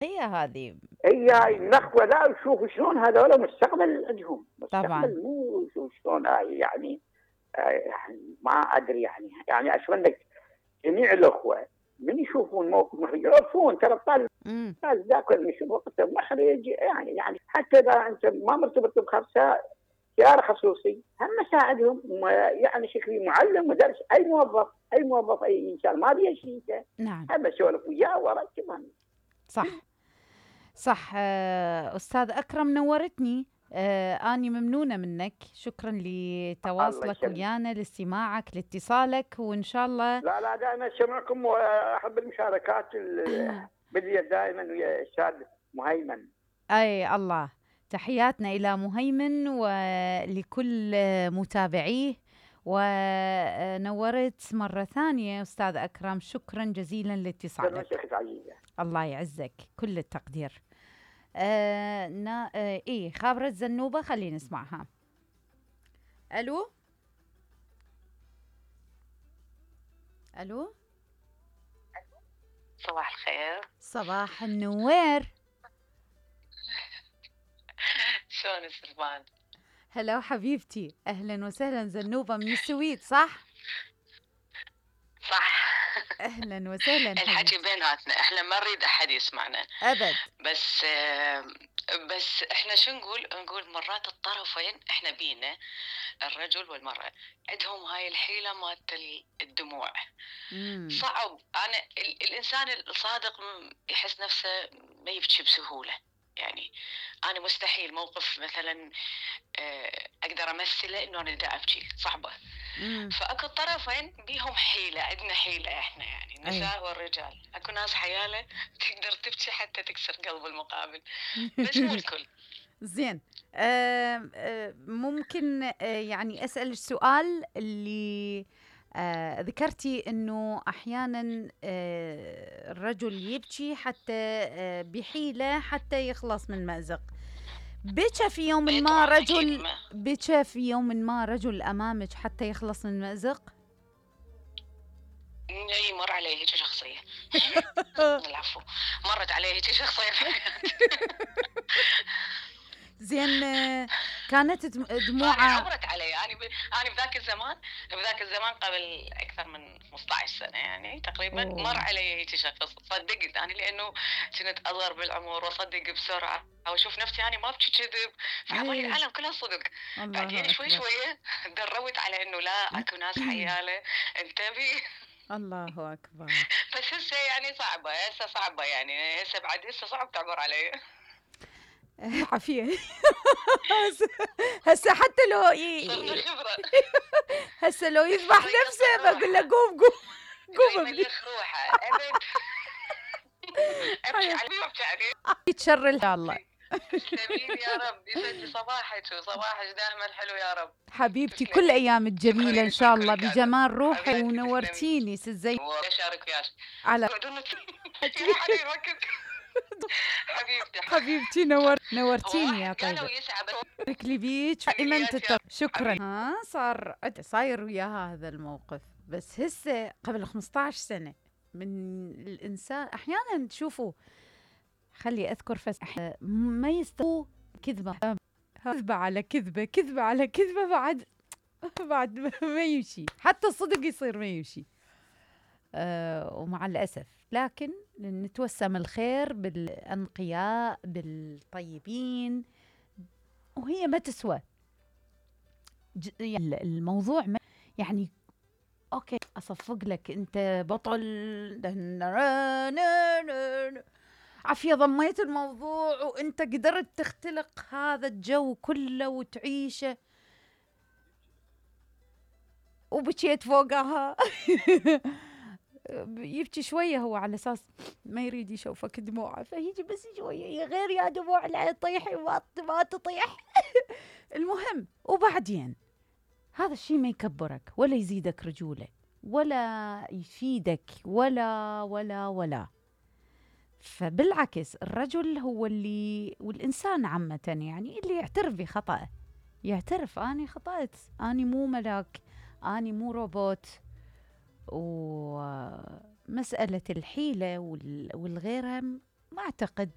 هي هذه. هي هاي النخوه، لا شوفوا شلون هذول مستقبل عندهم، طبعا. مستقبل مو شلون هاي يعني. يعني ما ادري يعني اتمنى جميع الاخوه من يشوفون موقف محرج يعرفون ترى الطالب ذاك اللي يشوف وقته محرج، يعني حتى اذا انت ما مرتبط بخمسه سياره خصوصي هم ساعدهم، يعني شكلي معلم مدرس اي موظف اي انسان ما بيشيته نعم. هم اسولف وياه واركبهم. صح صح. أستاذ أكرم نورتني. أني ممنونة منك، شكرا الله لتواصلك يسلمك. ويانا، لاستماعك، لاتصالك، وإن شاء الله. لا دائما اسمعكم واحب المشاركات بدي دائما ويا الاستاذ مهيمن. أي الله، تحياتنا إلى مهيمن ولكل متابعيه. ونورت مرة ثانية أستاذ أكرم، شكرا جزيلا لاتصالك. الله يعزك، كل التقدير. إيه خابرة زنوبة، خلينا نسمعها. ألو ألو، صباح الخير. صباح النوير. شلون السلمان؟ هلا حبيبتي، أهلا وسهلا. زنوبة من السويد صح؟ صح. أهلا وسهلا. الحكي بيناتنا، احنا ما نريد أحد يسمعنا أبد. بس احنا شو نقول مرات الطرفين احنا بينا الرجل والمرأة عندهم هاي الحيلة مالت الدموع. صعب. أنا الإنسان الصادق يحس نفسه ما يبكي بسهولة. يعني أنا مستحيل موقف مثلا أقدر أمثله إنه أنا دا أبكي، صعبة. فأكو الطرفين بيهم حيلة، عندنا حيلة إحنا يعني النساء والرجال. أكو ناس حيالة تقدر تبكي حتى تكسر قلب المقابل، بس مو الكل. زين. ممكن يعني أسأل السؤال اللي ذكرتي إنه أحيانا الرجل يبكي حتى بحيلة حتى يخلص من مأزق. بكى في يوم ما رجل أمامك حتى يخلص من مأزق؟ مر عليه هيك شخصية. العفو، مرت عليه هيك شخصية. زين. كانت دموعه عبرت علي. أنا بذاك الزمان قبل أكثر من 15 سنة يعني تقريبا. مر علي هيك شخص، صدقت أنا لأنه كنت أصغر بالعمر وأصدق بسرعة وأشوف نفسي أنا ما أبكي كذب، فعبالي العالم كلها صدق. بعدين شوي دربت على إنه لا، أكو ناس حيالة انتبه. الله أكبر. بس هسه يعني صعبة يعني هسه صعب تعبر علي. عافية. هسه حتى لو هسه لو يذبح نفسه بقول له قوم يملخ روحه. ابكي عليه يتشر ان شاء الله. تسلمين يا رب، يسعد صباحك دائما حلو يا رب حبيبتي. كل ايامك جميله ان شاء الله بجمال روحي، ونورتيني سزي. اشارك وياك على حبيبتي نورتيني يا طيبه. بارك لي بيك دائما. شكرا. صاير وياها هذا الموقف، بس هسه قبل 15 سنه من الانسان. احيانا تشوفوا، خلي اذكر ما يستوى كذبه على كذبه بعد ما يمشي، حتى الصدق يصير ما يمشي. ومع الأسف، لكن نتوسم الخير بالأنقياء بالطيبين، وهي ما تسوى الموضوع. يعني أوكي أصفق لك أنت بطل عافية، ضميت الموضوع وأنت قدرت تختلق هذا الجو كله وتعيشه، وبكيت فوقها. يبكي شوية هو على أساس ما يريد يشوفك دموعه، فيجي بس شوية غير يا دموع لا تطيحي ما تطيح. المهم، وبعدين هذا الشيء ما يكبرك ولا يزيدك رجولة ولا يفيدك ولا. فبالعكس الرجل هو اللي، والإنسان عامة يعني، اللي يعترف بخطأه، يعترف أنا خطأت، أنا مو ملاك، أنا مو روبوت. ومسألة الحيلة والغيرها ما أعتقد